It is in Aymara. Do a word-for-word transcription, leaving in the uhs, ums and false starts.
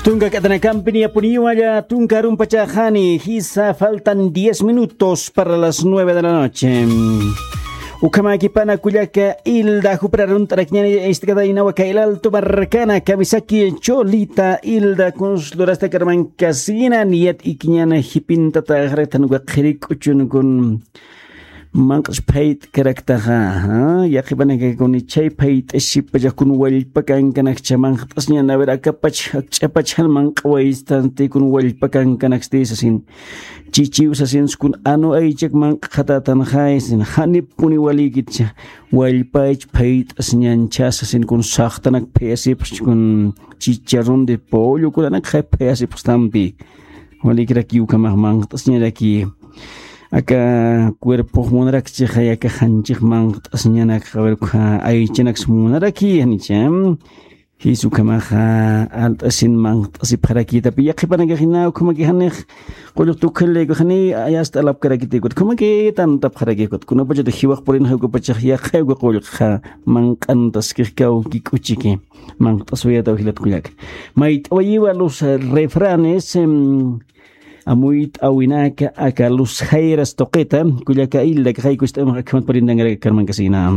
Tunka k'atanakampi niyapuniwalla, tunka arumpachaxani, jisa faltan diez minutos para las nueve de la noche. Ukhamäkipana kullaka Hilda, jupra arunt'arakiñäni, istakataynawa kay Alto markana, kamisaki Cholita, Hilda, kuns lurasta karmankasina, niyat ikiñäna jipintata, jaratan waqhiri k'uchun kun manq'ch phayt'karaktaxa, yaqhipanakakuni chay phayt'asipachakun wallpa kankanakcha manqt'asñan, a ver, akapach, akch'apach jan manq'awaystanti kun wallpa kankanaksti sasin. Chichiw sasinskun anu aychak manq'xatatanxay sin, janipuni walïkitcha, wallpach phayt'asñancha sasin kun saxtanak phayasipxch kun chicharrón de pollo kunanakxay phayasipxstampi. Walïkirakiw ukhamax manqt'asñaraki. Aka cuerpox munarakchixay aka janchix manqt'asñanakxa, a ver, ukha aychanaks munaraki, janicha. Jis ukhamaxa alt'asin manqt'asipxarakitapi, yaqhipanakaxina ukhamaki janix qullqta ukhallaykux jani, yasta alapkarakiti ukat, ukhamaki tantapxaraki ukat, kunapachatix jiwax purinxa ukapachax yaqhay uka qullqxa manq'antaskix kawki k'uchiki. Manqt'aswayataw jilat kullaka. Mayt'awayiwa los refranes, em, amuyt'awinaka aka los jairas tuqita, kullaka Hilda, kaqaykucht'amax akhamat purintankaraka karmankasina.